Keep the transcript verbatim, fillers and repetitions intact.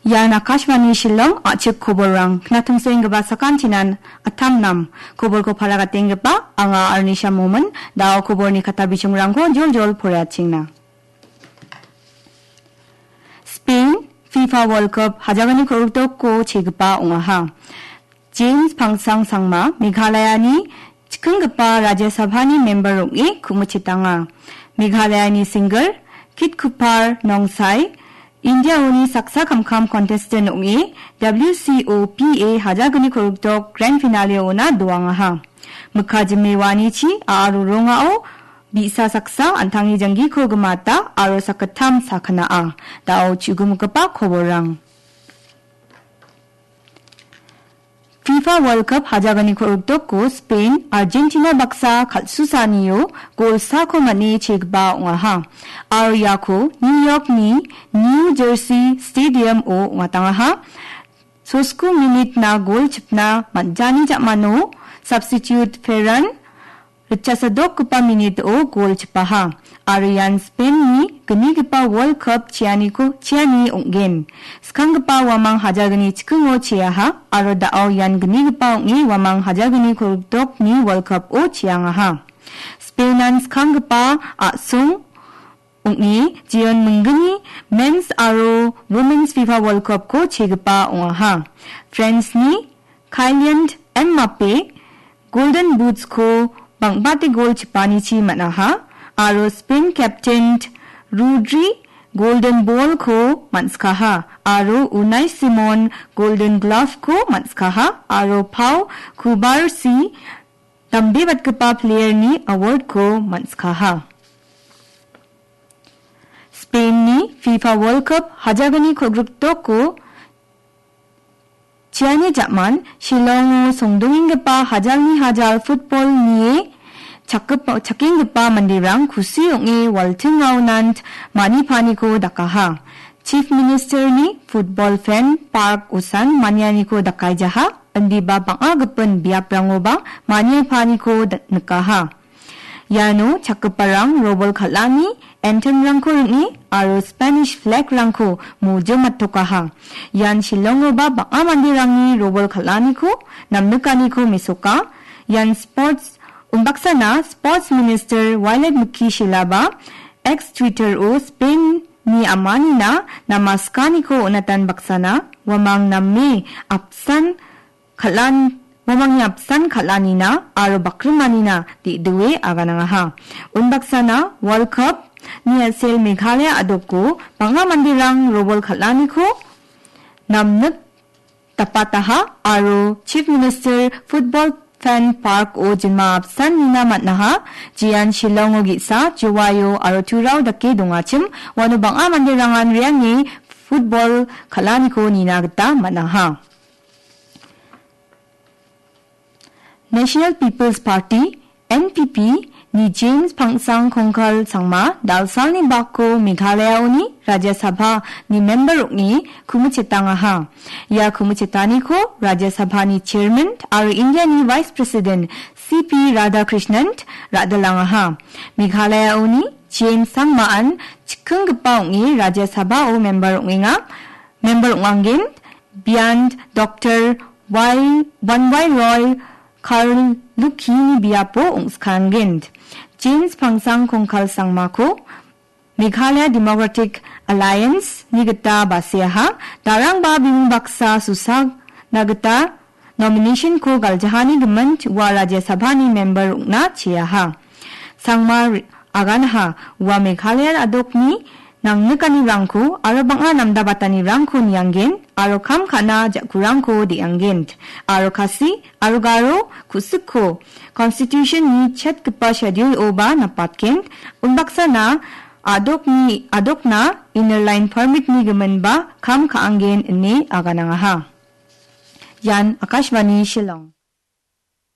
Ian Akashvani Shillong, a·chik koborrang. Knatongsoenggipa sakantinan attam nam. Koborko para gatenggipa anga Arnisha Momin, da·o koborni kata bichongrangko joljol poraiatchengna. Spain FIFA World Cup hajalni kolgrikdokko chegipa ong·aha. James Pangsang Sangma, Meghalayani chikinggipa Rajya Sabhani member ong·e ku·michetanga. Meghalayani singer Kit Kupar Nongsai, Indiaoni saksa kamkam contestant ong·e W C O P A hajalni kolgrikdok grand finale-ona doangaha. Mikka jime wanichi a·a rorongao bi·sa saksa an·tangni janggiko gimata aro sakgittam sakgna'a. Da·o chu·gimikgipa koborrang. FIFA World Cup hajalni kolgrikdokko Spain, Argentina baksa kal·susanio gol sako man·e chegipa ong·aha. Aro iako New Yorkni New Jersey Stadium-o ong·atangaha. Sosku minitna gol chipna man·jani ja·mano substitute Ferran ritchasadokgipa minit-o gol chipaha. Aro ian Spain-ni gnigipa World Cup cheaniko, cheani ong·gen. Skanggipa uamang hajalni chikingo cheaha, aro da·o ian gnigipa ong·e uamang hajalni kolgrikdokni World Cup-o cheangaha. Spain-an skanggipa a·song ong·e jeon minggni Men's aro Women's FIFA World Cup-ko chegipa ong·aha. France-ni Kylian Mbappe Golden Boots-ko bang·bate gol chipanichi man·aha, aro Spain captain Rodri Golden Ball-ko man·skaha, aro Unai Simon Golden Glove-ko man·skaha, aro Pau Cubarsí Dambebatgipa Player-ni award-ko man·skaha. Spain-ni FIFA World Cup hajalni kolgrikdokko cheani ja·man Shillongo songdongenggipa hajalni hajal football nie chakgipa-, chakenggipa manderang kusi ong·e waltingaonant manipaniko dakaha. Chief Minister-ni football fan park-osan manianiko dakaijaha, indiba bang·a gipin biaprangoba maniapaniko da-, nikaha. Iano chakgiparang robol kal·ani, anthem-rangko ring·e aro Spanish flag-rangko mojomatokaha. Ian Shillongoba bang·a manderangni robol kal·aniko, namnikaniko mesoka. Ian sports, unbaksana Sports Minister Violet Mukhi Shelaba X Twitter-o Spain-ni amanina namaskaniko on·atan baksana, uamang name apsan kal·an-, uamangni apsan kal·anina aro bakrimanina de·doe aganangaha. Unbaksana World Cup-ni a·sel Meghalaya a·doko bang·a manderang robol kal·aniko namnik dapataha aro Chief Minister Football Fan Park-o jinma apsan nina man·aha, jean Shillongo ge·sa, Jowaio aro Turao dake dongachim, uano bang·a manderangan re·ange football kal·aniko nina gita man·aha. National People's Party, N P P, ni James Pangsang Kongkal Sangma, dalsalni bako Meghalayaoni Rajya Sabha ni member ong·e kumichetangaha. Ia kumichetaniko Rajya Sabha ni Chairman aro India ni Vice President C P Radhakrishnan ra·dilangaha. Meghalayaoni James Sangmaan chikinggipa ong·e Rajya Sabha-o member ong·enga, member ong·angen, bian Doctor Y, Wanwai Roy Karlukini biapo ong·skangen. James Pangsang Kongkal Sangmako Meghalaya Democratic Alliance-ni gita baseaha, darangba bimung baksa susagna gita nomination-ko galjahani gimin ua Rajya Sabha-ni member ong·na cheaha. Sangma ri-, aganaha ua Meghalaya a·dokni nangnikanirangko aro bang·a namdabatanirangko niangen aro kam ka·na ja·kurangko de·angen aro Khasi aro Garo ku·sikko Constitution-ni chetgipa schedule-oba napatgen, unbaksana a·dokni, a·dokna Inner Line Permit-ni giminba kam ka·angen ine aganangaha. Ian Akashvani Shillong.